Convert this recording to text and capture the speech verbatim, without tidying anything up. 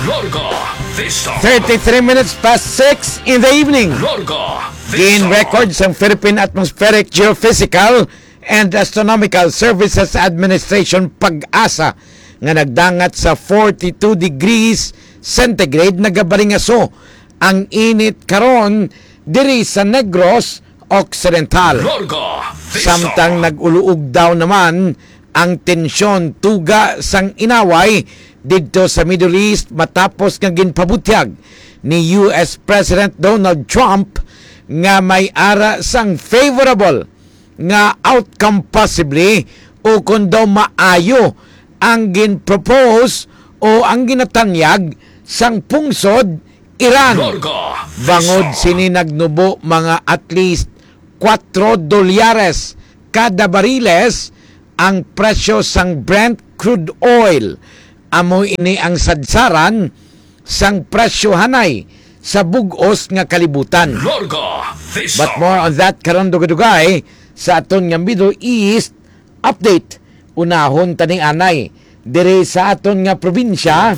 Larga Vista. Thirty-three minutes past six in the evening. Larga Vista. Gin-record sang Philippine Atmospheric Geophysical and Astronomical Services Administration, PAGASA, nga nagdangat sa forty-two degrees centigrade, nagabalingaso ang init karon diri sa Negros Occidental. Larga Vista. Samtang nag-uluog daw naman ang tensyon tuga sang inaway didto sa Middle East matapos nga ginpabutyag ni U S President Donald Trump nga may ara sang favorable nga outcome possibly o kon daw maayo ang gin-propose o ang ginatanyag sang pungsod Iran. Larga Vista. Bangod sini nagnubo mga at least kwatro dolyares kada bariles ang presyo sang Brent crude oil. Amo ini ang sadsaran sang presyo hanay sa bug-os nga kalibutan. Larga Vista. But more on that karon dugay-dugay sa aton nga Middle East update. Unahon tani anay diri sa aton nga probinsya